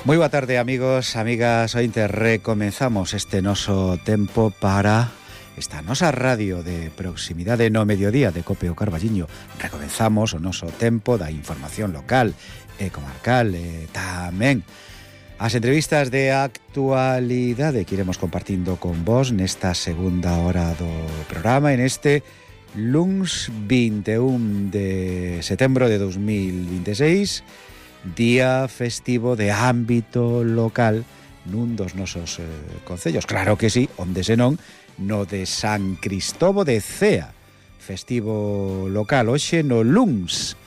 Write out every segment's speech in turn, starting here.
Moi boa tarde, amigos, amigas. Ointe recomenzamos este noso tempo para esta nosa radio de proximidade no mediodía de Cope o Carballiño. Recomenzamos o noso tempo da información local e comarcal e tamén as entrevistas de actualidade que iremos compartindo con vos nesta segunda hora do programa, en este luns 21 de setembro de 2026, día festivo de ámbito local nun dos nosos concellos. Claro que sí, onde senón no de San Cristovo de Cea, festivo local hoxe no luns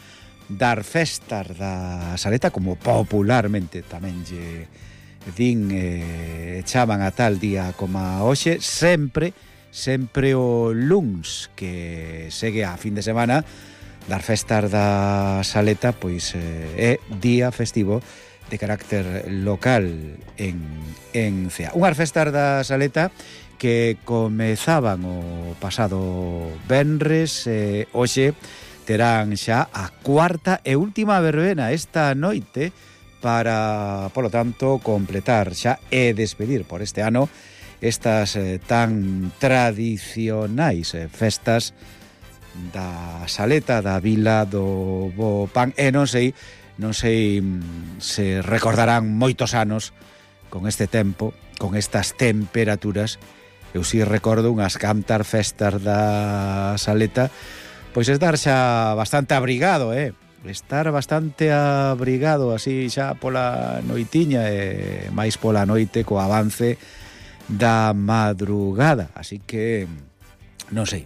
dar festas da Saleta, como popularmente tamén lle din, chaman a tal día como hoxe, sempre o luns que segue a fin de semana. Dar festas da Saleta, pois é día festivo de carácter local en Cea. Unhas festas da Saleta que comezaban o pasado venres, hoxe terán xa a cuarta e última verbena esta noite para, polo tanto, completar xa e despedir por este ano estas tan tradicionais festas da Saleta, da Vila do Bo Pan. E non sei se recordarán moitos anos con este tempo, con estas temperaturas. Eu si recordo unhas cantar festas da Saleta, pois estar xa bastante abrigado, estar bastante abrigado así xa pola noitiña e máis pola noite co avance da madrugada. Así que non sei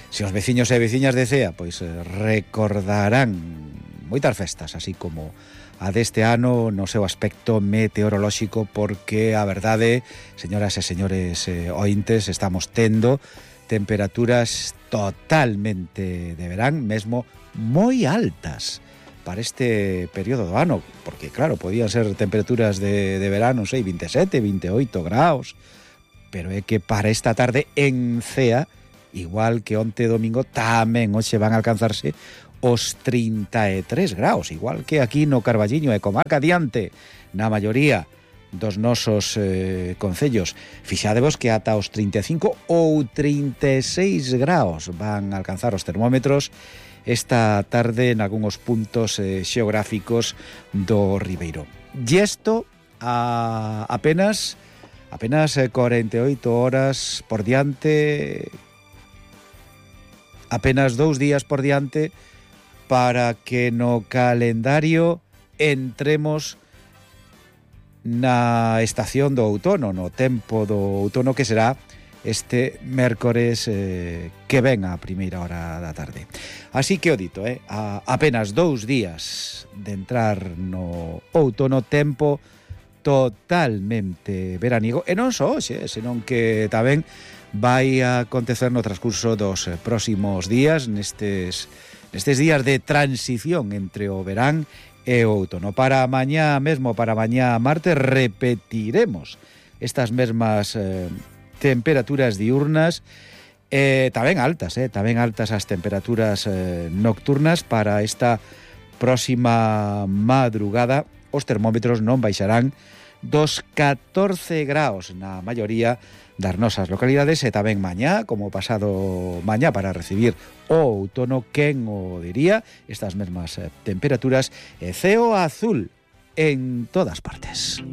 se os veciños e veciñas de Cea pois recordarán moitas festas, así como a deste ano no seu aspecto meteorolóxico, porque a verdade, señoras e señores ointes, estamos tendo temperaturas totalmente de verán, mesmo moi altas para este período do ano, porque claro, podían ser temperaturas de verán, non sei, 27, 28 graus, pero é que para esta tarde en Cea, igual que onte domingo, tamén hoxe van a alcanzarse os 33 graus, igual que aquí no Carballiño e comarca adiante, na maioría dos nosos concellos. Fixadevos que ata os 35 ou 36 graus van a alcanzar os termómetros esta tarde en algúns puntos xeográficos do Ribeiro. E isto a apenas 48 horas por diante, apenas 2 días por diante para que no calendario entremos na estación do outono, no tempo do outono, que será este mércores que ven a primeira hora da tarde. Así que o dito, a apenas 2 días de entrar no outono, tempo totalmente veraniego, e non só hoxe, senón que tamén vai a acontecer no transcurso dos próximos días, nestes días de transición entre o verán e o outono. Para mañá mesmo, para mañá martes, repetiremos estas mesmas temperaturas diurnas, tamén altas as temperaturas nocturnas. Para esta próxima madrugada os termómetros non baixarán dos 14 graus na maioría das nosas localidades, e tamén mañá, como pasado mañá, para recibir o outono, quen o diría, estas mesmas temperaturas e ceo azul en todas partes.